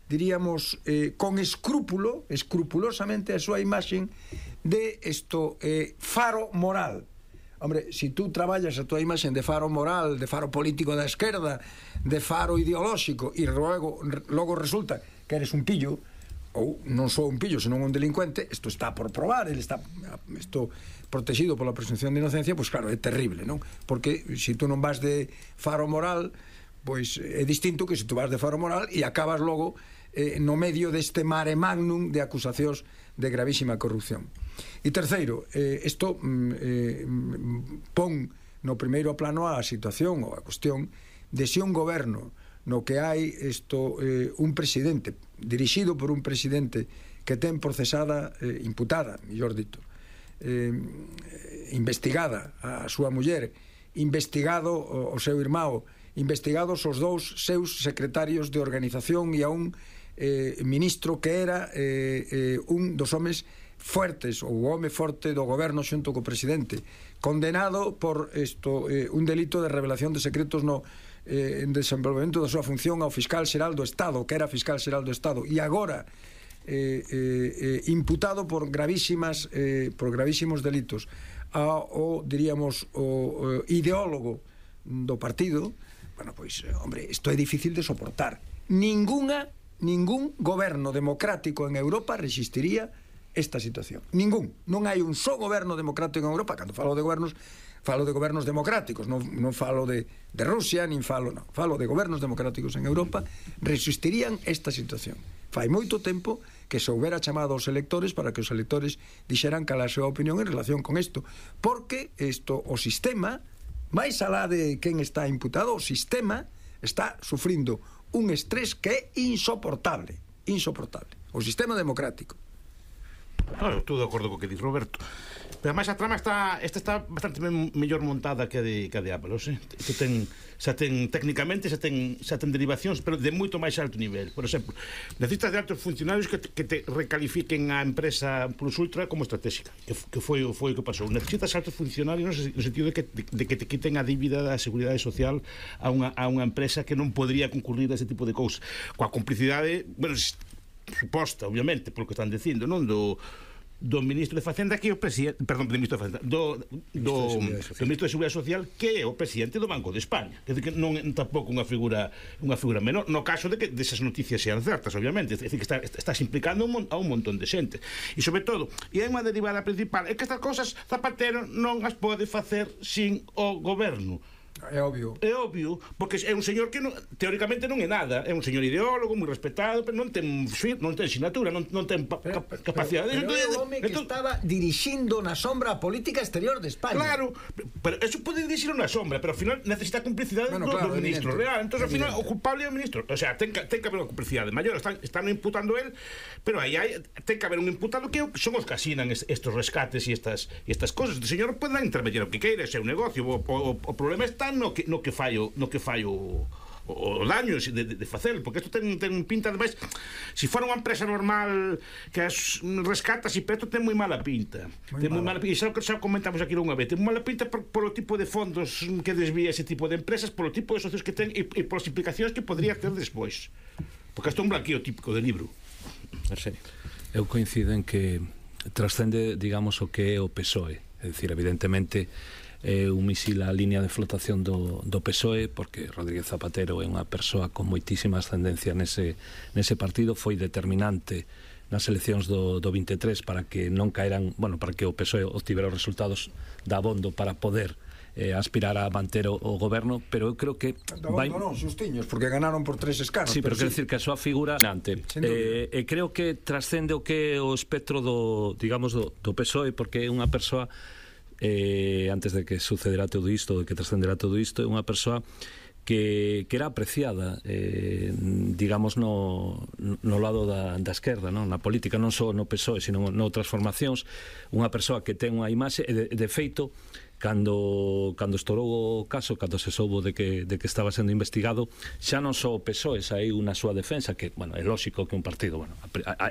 diríamos, con escrupulosamente a súa imaxen de faro moral. Hombre, se tú traballas a túa imaxen de faro moral, de faro político da esquerda, de faro ideolóxico, e logo resulta que eres un pillo, ou non só un pillo, senón un delincuente, isto está por probar, isto protegido pola presunción de inocencia, pois claro, é terrible, non? Porque se tú non vas de faro moral, pois é distinto que se tú vas de faro moral e acabas logo no medio deste mare magnum de acusacións de gravísima corrupción. E terceiro, isto pon no primeiro plano a situación ou a cuestión de se un goberno no que hai un presidente dirixido por un presidente que ten procesada, imputada, mellor dito, investigada a súa muller, investigado o seu irmão, investigados os dous seus secretarios de organización e a un ministro que era un dos homes fuertes, ou o home forte do goberno xunto co presidente, condenado por un delito de revelación de secretos no desenvolvemento da súa función ao fiscal xeral do Estado, que era fiscal xeral do Estado, e agora imputado por gravísimos delitos diríamos, o ideólogo do partido. Bueno, pois, hombre, isto é difícil de soportar. Ningún goberno democrático en Europa resistiría esta situación. Ningún. Non hai un só goberno democrático en Europa. Cando falo de gobernos democráticos, non falo de Rusia, nin falo de gobernos democráticos en Europa, resistirían esta situación. Fai moito tempo que se houbera chamado aos electores para que os electores dixeran cal a súa opinión en relación con isto, porque o sistema, máis alá de quen está imputado, o sistema está sufrindo un estrés que é insoportable. O sistema democrático. Estou de acordo co que di Roberto. Pero ademais a trama está bastante mellor montada que a de Apple, técnicamente xa ten derivacións, pero de moito máis alto nivel. Por exemplo, necesitas de altos funcionarios que te recalifiquen a empresa Plus Ultra como estratégica, que foi o que pasou. Necesitas altos funcionarios no sentido de que te quiten a dívida da Seguridade Social a unha empresa que non podría concurrir a ese tipo de cousas, coa complicidade, bueno, suposta, obviamente, polo que están dicindo, non? Do ministro de Facenda, que é o presidente, perdón, do ministro de Facenda, do ministro de Seguridade Social, que é o presidente do Banco de España. Quer dizer que non é tampouco unha figura menor, no caso de que desas noticias sean certas, obviamente. É dicir, que estás implicando a un montón de xente. E sobre todo, e hai unha derivada principal, é que estas cosas Zapatero non as pode facer sin o goberno. É obvio, porque é un señor que teóricamente non é nada, é un señor ideólogo moi respetado, pero non ten sinatura, non ten capacidade. Pero é o home que estaba dirixindo na sombra a política exterior de España. Claro, pero eso pode dirixir na sombra, pero ao final necesita cumplicidade do ministro real. Entón, ao final, o culpable é o ministro. O sea, ten que haber unha cumplicidade maior. Están imputando él, pero aí ten que haber un imputado que son os que asinan estes rescates e estas cosas. O señor pode intermediar o que queira, é un negocio. O problema está no que fai o daño de facelo, porque isto ten pinta de máis. Se fora unha empresa normal que as rescatas, pero isto ten moi mala pinta. E xa comentamos aquí unha vez, ten moi mala pinta polo tipo de fondos que desvía ese tipo de empresas, polo tipo de socios que ten e polas implicacións que podría ter despois, porque isto é un blanqueo típico de libro. Eu coincido en que trascende, digamos, o que é o PSOE. É dicir, evidentemente é un misil á línea de flotación do PSOE, porque Rodríguez Zapatero é unha persoa con moitísima ascendencia nese partido, foi determinante nas eleccións do 23 para que non caeran, bueno, para que o PSOE obtivera os resultados da abondo para poder aspirar a manter o goberno, pero eu creo que non, xustiños, porque ganaron por 3 escanos. Sí, pero quero dicir que a súa figura e creo que trascende o que é o espectro do PSOE, porque é unha persoa antes de que sucederá todo isto, de que trascenderá todo isto, é unha persoa que era apreciada digamos no lado da esquerda, non? Na política, non só no PSOE, sino noutras formacións, unha persoa que ten unha imaxe, de feito, cando estourou o caso, cando se soubo de que estaba sendo investigado, xa non só o PSOE saíu na súa defensa, que, bueno, é lógico que un partido, bueno,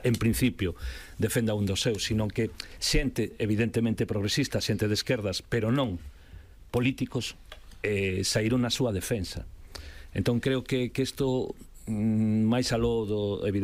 en principio defenda un dos seus, sino que xente evidentemente progresista, xente de esquerdas, pero non políticos, saíron na súa defensa. Entón creo que isto máis aló do evidente